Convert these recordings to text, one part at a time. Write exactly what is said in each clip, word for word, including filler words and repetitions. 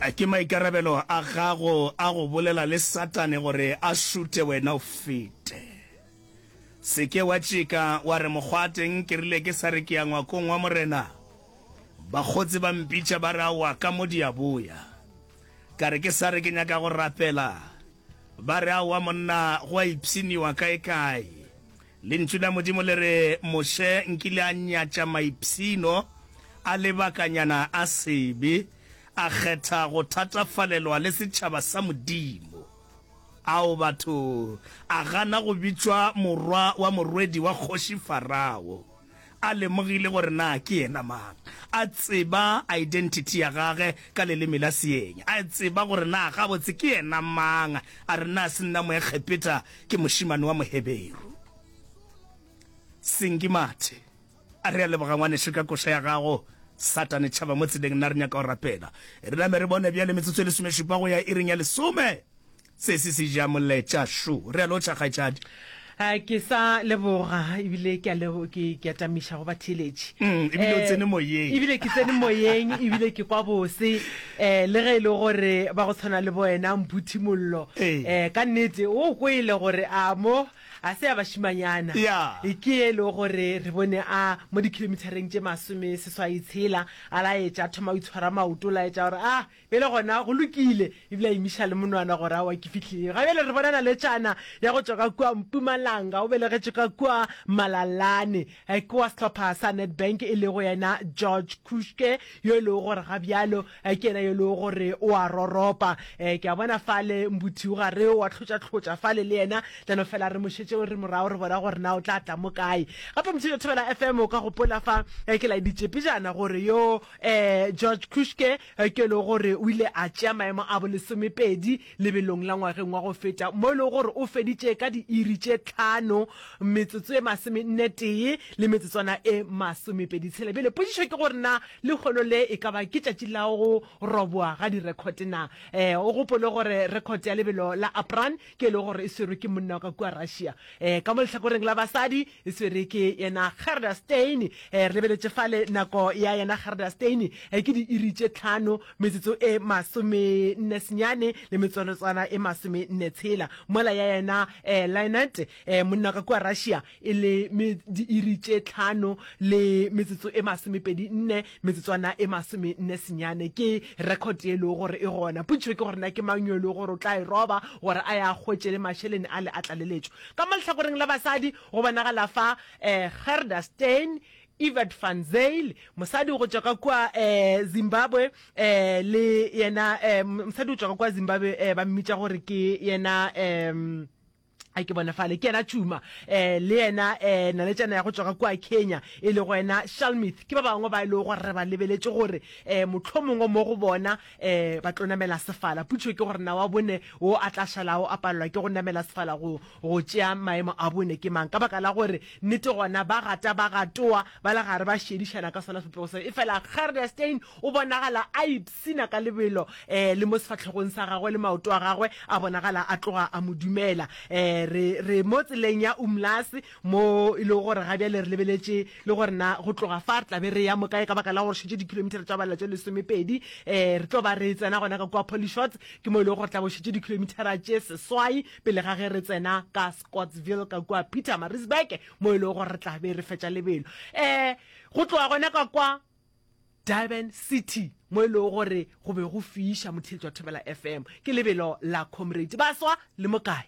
Ke maikarabelo a gago a go bolela le Satane gore a šute wena o fete. Se ke wa tšeka wa re mokgwateng ke rile ke sa re ke ya ngwakong wa Morena. Bakgotsi ba mpitša ba re aowa ka mo di a boya. Ka re ke sa re ke nyaka go rapela. Ba re aowa monna go a ipshiniwa kaekae. Lentšu la Modimo le re Moshe nkile a nyatša maipshino a lebakanyana a sebe, a kgetha go thatafalelwa le setšhaba sa Modimo. Ao batho, a gana go bitšwa morwa wa morwedi wa kgoši Farao, a lemogile gore na ke yena mang, a tseba identity ya gage ka leleme la seeng, a tseba gore na gabotse ke yena mang, a re na se nna Moegepeta, ke mošemane wa Moheberu. Senki mathe. A re a leboga ngwanešu ka koša ya gago. Satane tšhaba mo tseleng, nna re nyaka go rapela. Re name re bone bjale metsotso e lesomešupa go ya iring ya lesome. Se se se ja moletša šo. Re a lotšha kgaetšadi. Ke sa leboga ebile ke a lebo ke ke a tamiša go batheeletši. Mm, ebile o tsene moyeng. Ebile ke tsene moyeng ebile ke kwa bose eh le ge e le gore ba go tshwana le bo wena Mphuthi Mollo. Eh ka nnete o kwele gore a mo a se ya bašimanyana. Yeah. Ke e le gore re bone a mo dikilomethareng tše masome seswai tshela a laetša a thoma go itshwara maoto laetša gore a bjale gona go lokile ebile a imiša le monwana gore aowa ke fihlile. Ga bjale re bona naletšana ya go tšwa ka kua Mpumalanga o belegetšwe ka kua Malalane ke wa sehlopha sa Nedbank e lego yena George Kushke yo e lego gore ga bjalo ke yena yo e lego gore o a roropa. Ke a bona fale Mbuthi o gare wa hlotša-hlotša fale le yena tlano fela re mo šetše re morago re bona gore na o tla tla mo kae. Gape Motšhitšhi wa Thobela F M o ka gopola fa ke laeditše pejana gore yo George Kushke ke e lego gore o ile a tšea maemo a bolesomepedi lebelong la ngwageng wa go feta mo e lego gore o feditše ka diiri tše tlhano metsotso e masomenne tee le metsotswana e masomepedi tshela. Bjale potšišo ke gore na lehono le e ka ba ke tšatši la go roboa ga direkhote na? Eh o gopole gore rekhote ya lebelo la Apran ke e lego gore e swerwe ke monna wa ka kua Russia. Eh ka mo lehlakoreng la basadi e swerwe ke yena Gerda Steyn. Eh re lebeletše fale nako ya yena Gerda Steyn eh ke diiri tše tlhano metsotso e masomenne senyane le metsotswana e masomenne tshela. Mola ya yena eh Lynette eh monna ka kua Russia e le diiri tše tlhano le metsotso e masomepedi nne metsotswana e masomenne senyane. Ke record e lego gore e gona. Potšišo ke gore na ke mang yo e lego gore o tla e roba gore a ya hwetše le mašeleng a le a tlaleletšo. Ka mo lehlakoreng la basadi go bonagala fa eh Gerda Steyn, Yvette van Zyl, mosadi go tšwa ka kua eh Zimbabwe eh le yena eh mosadi go tšwa ka kua Zimbabwe eh ba mmitša gore ke yena eh a ke bona fale ke yena Chuma eh le yena eh naletšana ya go tšwa ka kua Kenya e lego yena Shalmith. Ke ba bangwe ba e lego gore re ba lebeletše gore eh mohlomongwe mo go bona eh ba tlo namela sefala. Potšišo ke gore na wa bone wo a tla šalago a palelwa ke go namela sefala go go tšea maemo a bone ke mang, ka baka la gore nnete gona ba gata ba gatoa ba le gare ba šedišana ka sona sebopego seo. E fela Gerda Steyn o bonagala a ipshina ka lebelo eh le mo sefahlogong sa gagwe le maoto a gagwe a bonagala a tloga a mo dumela. Eh re re mo tseleng ya Umlasi mo e lego gore ga bjale re lebeletše le gore na go tloga fa re tla be re ya mo kae, ka baka la gore šetše dikilometara tša balela tše lesomepedi eh re tlo ba re tsena gona ka kua Polyshots, ke mo e lego gore tla bo šetše dikilometara tše seswai pele ga ge re tsena ka Scottsville ka kua Pietermaritzburg mo e lego gore re tla be re fetša lebelo eh go tloga gona ka kwa Durban City mo e lego gore go be go fiša motheletši wa Thobela F M. Ke lebelo la Comrade baswa le mo kae.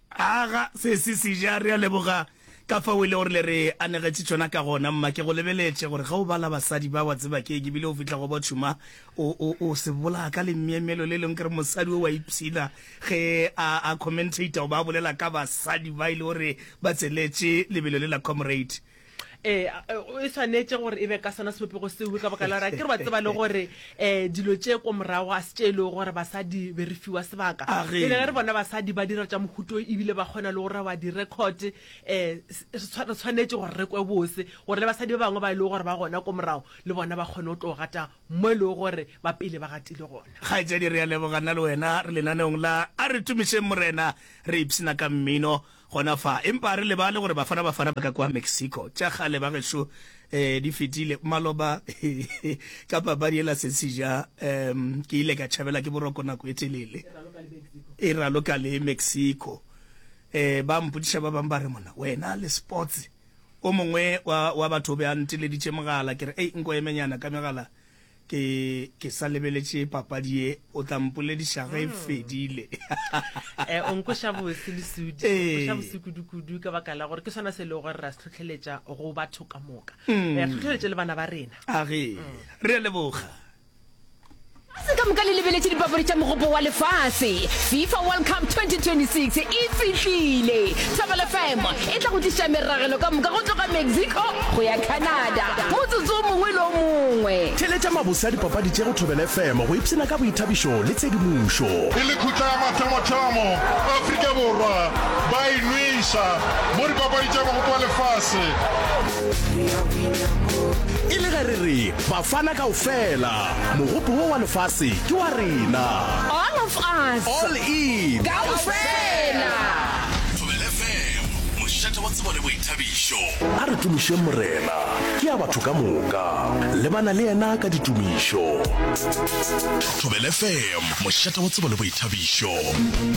Aga se se seja, re a leboga ka fao e le gore le re anegetše tšona ka gona. Mma ke go lebeletše gore ge o bala basadi ba wa tseba ke eng, ebile o fihla go bo Tšhuma o, o, o se bolaya ka lemyemyelo le leng ke re mosadi o wa ipshina ge a, a commentator goba a bolela ka basadi ba e le gore ba tseletše lebelo le la Comrade. Eh e swanetše gore e be ka sona sebopego seo, ka baka la gore ke re ba tseba le gore eh dilo tše ko morago a se tše e lego gore basadi be re fiwa sebaka. Pele ge re bona basadi ba dira tša mohuto ebile ba kgona le go roba di-record eh re tshwanetše gore re kwe bose gore le basadi ba bangwe ba e lego gore ba gona ko morago le bona ba kgone go tlo gata mo e lego gore ba pele ba gatile gona. Kgaetšedi, re a leboga nna le wena re lenaneong la A Re Tumišeng Morena, re ipshina ka mmino. gona fa. Empa re lebale gore Bafana Bafana ba ka kwa Mexico. Tša kgale ba gešo eh, di fetile. Maloba ka papadi yela Sesija um ke ile ka tšhabela ke boroko nako e telele. E raloka le Mexico. Eh, ba mpotšiša ba bang ba re mona wena le sports o mongwe wa, wa batho o be a nteleditše mogala ke re ei nko emenyana ka megala ke ke sa lebeletše papadi ye o tla mpolediša ge e fedile. Eh, o nkoša bose Lesudi, o Ee. nkoša bose kudu-kudu ka baka la gore ke sona se e lego gore ra se hlohleletša go batho ka moka. Re hlohleletše le bana ba rena. A ge re a leboga. Se ka moka le lebeletše dipapadi tša Mogopo wa Lefase. FIFA World Cup twenty twenty six e fihlile! Thobela F M e tla go tliša meragelo ka moka go tloga Mexico go ya Canada motsotso o mongwe le o mongwe. Theeletša mabose a dipapadi tše go Thobela F M go ipshina ka boithabišo le tshedimošo. E le khutla ya mathomothomo, Afrika Borwa ba e nweša mo dipapadi tša Mogopo wa Lefase. E le ge re re Bafana kaofela, mogopo wo wa lefase ke wa rena. All of us. All in. Kaofela. Thobela F M, mošate wa tsebo le boithabišo. A re tumišeng Morena, ke ya batho ka moka. Lebana le yena ka ditumišo. Thobela F M, mošate wa tsebo le boithabišo.